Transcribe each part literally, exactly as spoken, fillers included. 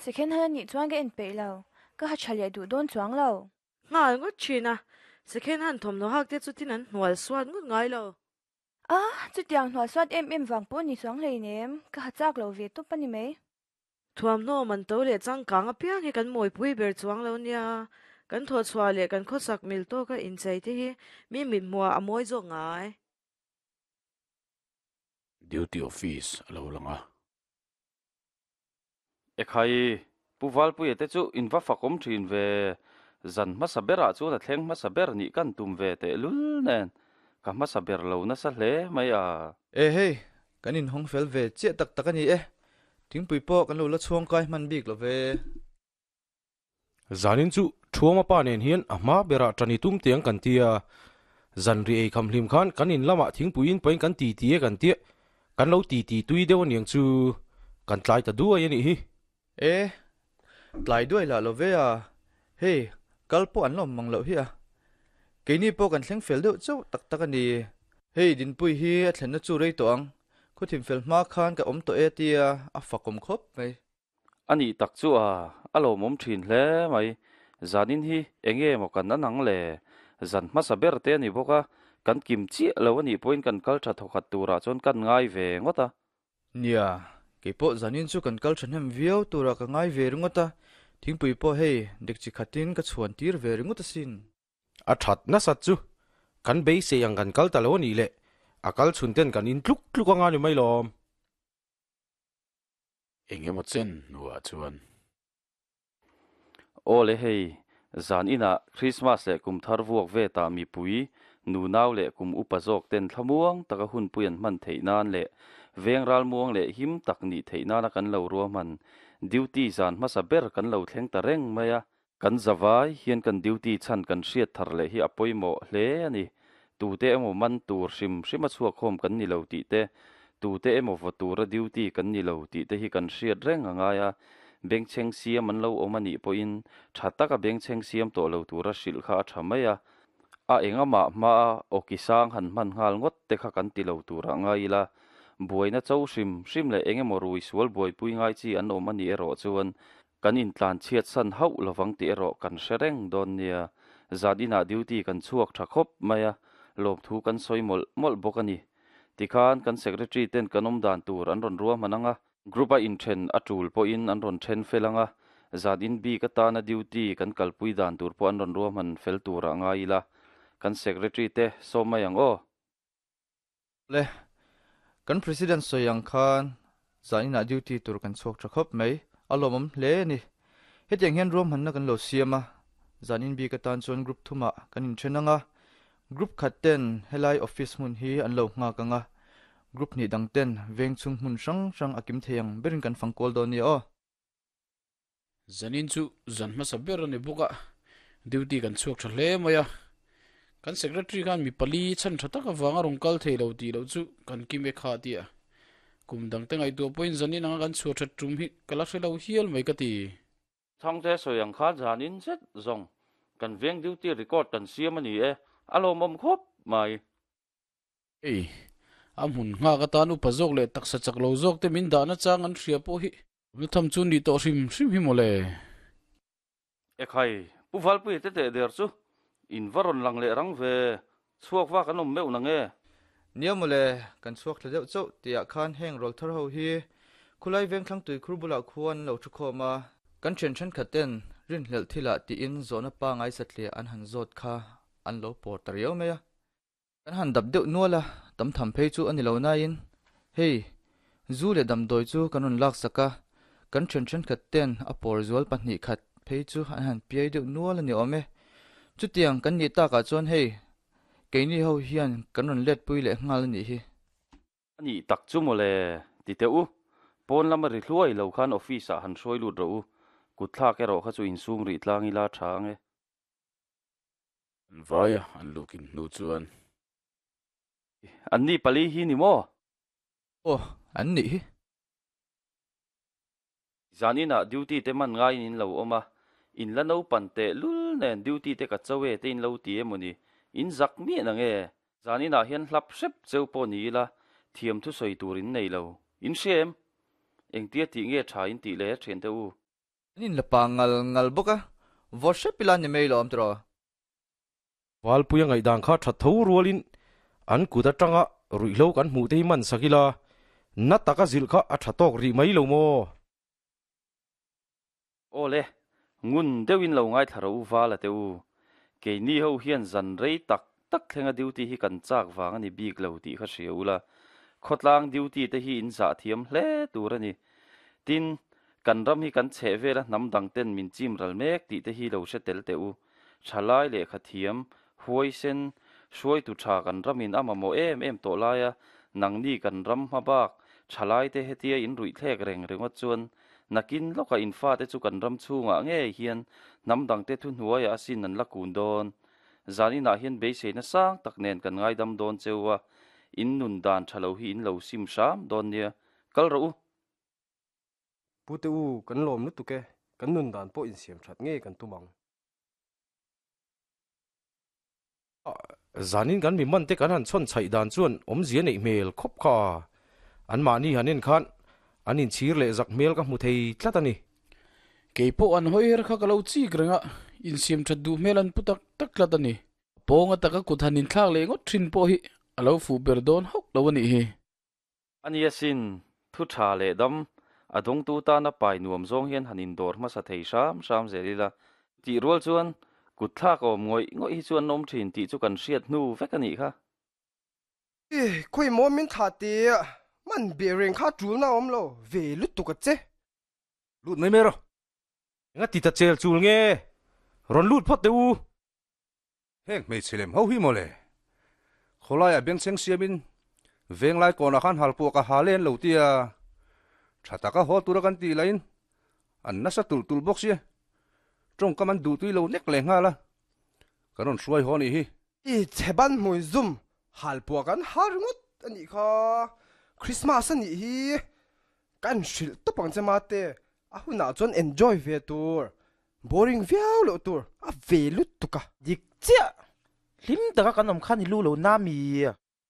Second hand anih chuan ka en peih lo. Ka ha tha leh duh dawn chuang lo. Nghal ngawt thin a, second hand thawmhnaw hak te chutin an hnual suat ngawt ngai lo. A, chutiang hnual suat em em vang pawh ni chuang hleinem, ka ha chak lo ve tawp a ni mai. Thuamhnaw man to leh changkang apiang hi kan mawipui ber chuang lo nia, kan thawhchhuah leh kan khawsak mil tawka inchei te hi mi mithmuah a mawi zawk ngai. Duty office a lo lang a. Ekhai, Pu Valpuia te chu in va fakawm thin ve. Zan hmasa berah chuan a thleng hmasa ber nih kan tum ve tehlul nen ka hmasa ber lo nasa hle mai a. E hei, kan inhawng fel ve chiah tak tak a ni e. Thingpui pawh kan lo la chhuang kai hman bik lo ve. Zanin chu Thuama pa nen hian a hma berah ṭan i tum tiang kan ti a. Zan ri ei kham hlim khan kan in lamah thingpuiin pain kan ti ti e kan tia, kan lo ti ti tui deuh aniang chu kan tlai ta duai a nih hi. E, tlai duai lah lo ve a, hei kal pawh an la awm mang loh hi a. Keini pawh kan thleng fel deuh chauh tak tak a ni. Hei Dinpui hi a thlenna chu rei tawh ang, khuthim fel hma khan ka awm tawh e tia a fakawm khawp mai. A nih tak chu a, a lawmawm thin hle mai. Zanin hi enge maw kan an ang le? Zan hmasa ber te a ni bawk a, kan kim chiah lo a nih pawhin kan kal tha thawkhat turah chuan kan ngai ve ngawt a. Nia, keipawh zanin chu kan kal thahnem viau turah ka ngai ve ringawt a, thingpui pawh hei dekchi khatin ka chhuan tir ve ringawt asin. A that nasat chu kan beisei ang kan kal ta lo a nih le, a kal chhun ten kan in tluk tluk anga ni mai lawm. Eng emaw chen hnuah chuan. Aw le hei, zan inah Krismas leh kum thar vuak vetah mipui, nunau leh kum upa zawk ten thlamuang taka hunpui an hman theih nan leh veng ralmuang leh him tak nih theih nana kan lo ruahman duty zan hmasa ber kan lo thleng ta reng mai a. Kan zavai hian kan duty chhan kan hriat thar leh hi a pawimawh hle a ni. Tute emaw man tur hrim hrim a chhuakhawm kan ni lo tih te, tute emaw vaw tura duty kan ni lo tih te hi kan hriat reng a ngai a. Bengchheng siam an lo awm a nih pawhin tha taka bengchheng siam tawh lo tura hrilh kha a tha mai a. A engamah hmaa awki sang han hman nghal ngawt te kha kan ti lo turah ngai ila, buaina cho hrim hrim leh engemaw rui sual buaipui ngai chi an awm a nih erawh chuan kan intlan chhiat san hauh lovang tih erawh kan hre reng dawn nia. Zan inah duty kan chhuak tha khawp mai a, lawmthu kan sawi mawlh mawlh bawk a ni. Tikhan kan secretary ten kan awm dan tur an rawn ruahman ang a, group a inthen a tul pawhin an rawn then fel ang a, zan in bik atana duty kan kalpui dan tur pawh an rawn ruahman fel turah ngai ila, kan secretary te sawm mai ang aw. Le, kan President sawi ang khan zan inah duty tur kan chhuak tha khawp mai, a lawmawm hle a ni. Hetiang hian ruahmanna kan lo siam a, zan in bik atan chuan group thumah kan inthen ang a, group khat ten helai office hmun hi an lo nghak ang a, group hnih dang ten veng chhung hmun hrang hrang a kim thei ang berin kan fang kual dawn nia aw. Zanin chu zan hmasa ber a ni bawk a, duty kan chhuak tha hle mai a. Kan secretary khan mi pali chhan tha tak avanga rawn kal thei lo tih loh chu kan kim e kha a ti a. Kum dangte ngaihtuah pawhin zanin anga kan chhuah that tum hi ka la hre lo hial mai ka ti. Chhangte sawi ang khan zanin zet zawng kan veng duty record kan siam a ni e, a lawmawm khawp mai. Hei, a hmun nghak atan upa zawk leh taksa chak lo zawk te min dahna chang an hria pawh hi na tham chu nih tawh hrim hrim hi mawle. Ekhai, Pu Valpuia te teh der chu in va rawn lang leh rang ve, chhuak vak an awm meuh na nge? Nia mawle, kan chhuak thla deuh chauh tihah khan heng rawl thar ho hi khulai veng thlang tui khur bulah khuan an lo thu khawm a, kan thian thenkhat ten rinhlelh thilah tiin zawhna pangai satliah an han zawt kha an lo pawr ta riau mai a. Kan han dap deuh nual a, tam tham phei chu a ni lo nain, hei, zu leh damdawi chu kan rawn lak sak a, kan thian thenkhat ten a pawr zual pahnih khat phei chu an han piai deuh nual a ni awm e. Chutiang kan nih takah chuan hei, keini ho hian kan rawn let pui leh nghal a nih hi. A nih tak chu mawle, ti teh u, pawn lama ri hluai lo khan office ah han hruai lut rawh u, kut thlak erawh kha chu insum rih tlang ila tha ang e. An vai a, an lukin hnu chuan. An ni pali hi ni maw? Aw, an nih hi. Zan inah duty te man ngaiin in lo awm a, in la naupan teh lul nen duty te ka cho e te in lo ti emaw ni? In zak miah na nge? Zan inah hian hlap hrep cheu pawh ni ila, thiam thusawi tur in nei lo. In hria em? Engtia tih nge tha in tih le thiante u? An in la pa ngal ngal bawk a, vaw hrep ila ni mai lawm tiraw. Valpuia ngaihdan kha tha tho rualin an kut atanga ruihhlo kan hmuh te hi man sak ila, na taka zilh kha a tha tawk rih mai lo maw? Aw le, ngun deuhin lo ngaithla ro val a teh u. Keini ho hian zan rei tak tak thlenga duty hi kan chak vang a ni bik lo tih kha hria ula, khawtlang duty te hi in zah thiam hle tur a ni. Tin, kan ram hi kan chheh vela hnam dang ten min chim ral mek tih te hi lo hre tel teh u. Thalai lehkha thiam, huaisen, hruaitu tha kan ramin a mamawh em em tawh laia nangni kan ram hma bak thalai te hetia in ruih thlek reng ringawt chuan nakin lawkah in fate chu kan ram chhungah ngei hian hnam dangte thuhnuaiah asin an la kun dawn. Zaninah hian beiseina sang tak nen kan ngaidam dawn cheu a, in nun dan tha lo hi in lo sim hram dawn nia. Kal rawh u! Pu te u, kan lawm lutuk e, kan nun dan pawh insiam that ngei kan tum ang. Zanin kan mi man te kan han chhawn chhaih dan chuan awmzia neih hmel khawp kha an mahni han en khan an inchhir leh zak hmel ka hmu thei tlat a ni. Kei pawh an hawi her kha ka lo chik reng a, insiam that duh hmel an pu tak tak tlat a ni. Pawnga taka kut han inthlak leh ngawt thin pawh hi a lo fuh ber dawn hauh lo a nih hi. A nia sin, thu tha leh dam, a dawngtu tana pai nuam zawng hian han indawr hmasa thei hram hram zel ila. Tih rual chuan kut thlak awm ngawih ngawih hi chu an awm thin tih chu kan hriat hnu vek a nih kha. I khawi maw min thlah tih man beh reng kha tulna awm lo ve lutuk a che. Lut mai mai rawh. Enga ti ta chel chul nge? Rawn lut phawt teh u. Heng hmeichhe lem ho hi mawle. Khawlaiah bengchheng siamin venglai kawnah khan halpuah ka ha len lo tia tha taka haw tura kan tih lahin an nasa tulh tulh bawk sia. Tawngkam an duhtui lo nek leh nghal a, kan rawn hruai haw nih hi. I chhe ban hmui zum halpuah kan ha ringawt a nih kha. Christmas a nih hi. Kan hrilh tawp ang che mate, a hunah chuan enjoy ve tur, boring viau loh tur a ve lutuk a. Dik chiah! Hlim taka kan awm khan i lu lo na mi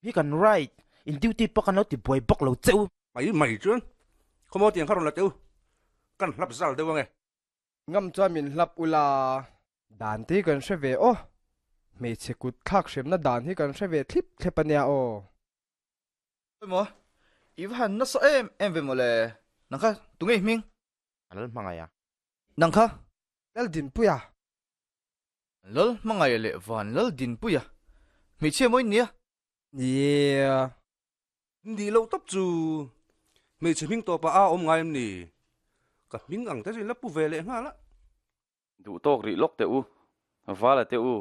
hi kan right in duty pawh kan lo ti buai bawk lo che u. Mai mai chuan khawmaw tiang kha rawn la teh u, kan hlap zal deuh ange. Ngam chuan min hlap ula, dan te hi kan hre ve aw, hmeichhe kut thlak hremna dan hi kan hre ve thlip thlep ania aw. Emaw, i va han nasa em em ve mawle, nang kha tunge i hming? A lal hmangaih a. Nang kha? Lal Dinpuia. Lal hmangaih leh van Lal Dinpuia, hmeichhia maw in nia? Nia. Nih loh tawp chu hmeichhe hming tawpah a awm ngai em ni? Ka hming ang te chu in la pu ve leh nghal a. Duh tawk rih lawk teh u, Vala teh u,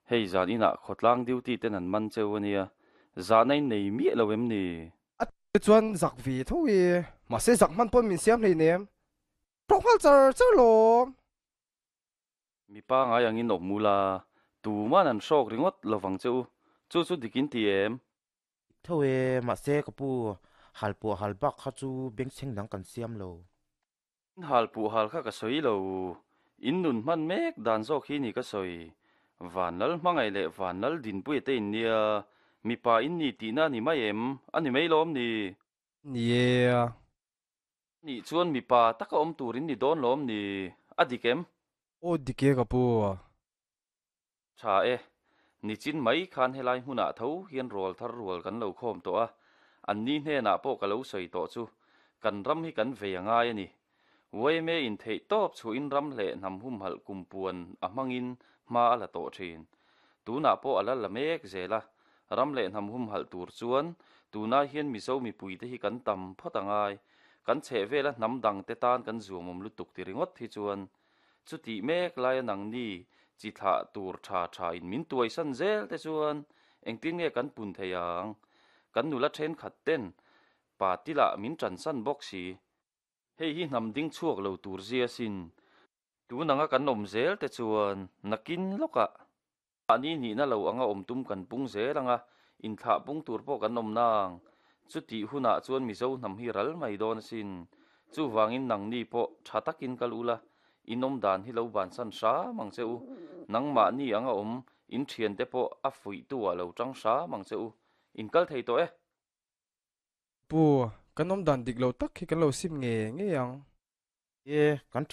hei zan inah khawtlang duty ten an man cheu a nia, zahna in nei miah lo em ni? A te chuan zak ve tho i, mahse zak hman pawn min siam hleinem, tawk nghal char char lawm. Mipa ngai angin awm ula, tuman an hrawk ringawt lovang che u, chu chu dik in ti em? Tho e, mahse ka pu, hal puah hal bak kha chu bengchheng dang kan siam lo. In hal puh hal kha ka sawi lo, in nun hman mek dan zawk hi ni ka sawi. Van Lal hmangaih leh Van Lal Dinpuia te in nia, mipa in ni tihna a ni mai em? A ni mai lawm ni? Ni e. Nih chuan mipa taka awm tur in ni dawn lawm ni? A dik em? Aw dik e ka pu. Tha e, nichin mai khan helai hmunah tho hian rual thar rual kan lo khawm tawh a, an ni hnenah pawh ka lo sawi tawh chu kan ram hi kan vei a ngai a ni. Y M A in theih tawp chhuahin ram leh hnam humhalh kumpuan a hmangin hma a la tawh thin. Tunah pawh a la la mek zel a, ram leh hnam humhalh tur chuan tunah hian Mizo mipuite hi kan tam phawt a ngai. Kan chheh vela hnam dangte tan kan zuamawm lutuk ti ringawt hi chuan chutih mek laia nangni chi thlah tur tha tha in min tuaisan zel te chuan engtin nge kan pun thei ang? Kan nula thenkhat ten pa tilah min tansan bawk si. Hei hi hnam ding chhuak lo tur zia sin. Tun anga kan awm zel te chuan nakin lawkah mahni nihna lo anga awm tum kan pung zel anga inthlah pung tur pawh kan awm nang. Chutih hunah chuan Mizo hnam hi ral mai dawn asin. Chuvangin nangni pawh tha takin kal ula, in awm dan hi lo bansan hram ang che u. Nangmahni anga awm in thiante pawh a fuihtu ah lo tang hram ang che u. In kal thei tawh e. Pu, kan awm dan dik lo tak hi kan lo sim nge ngei ang. E, kan thian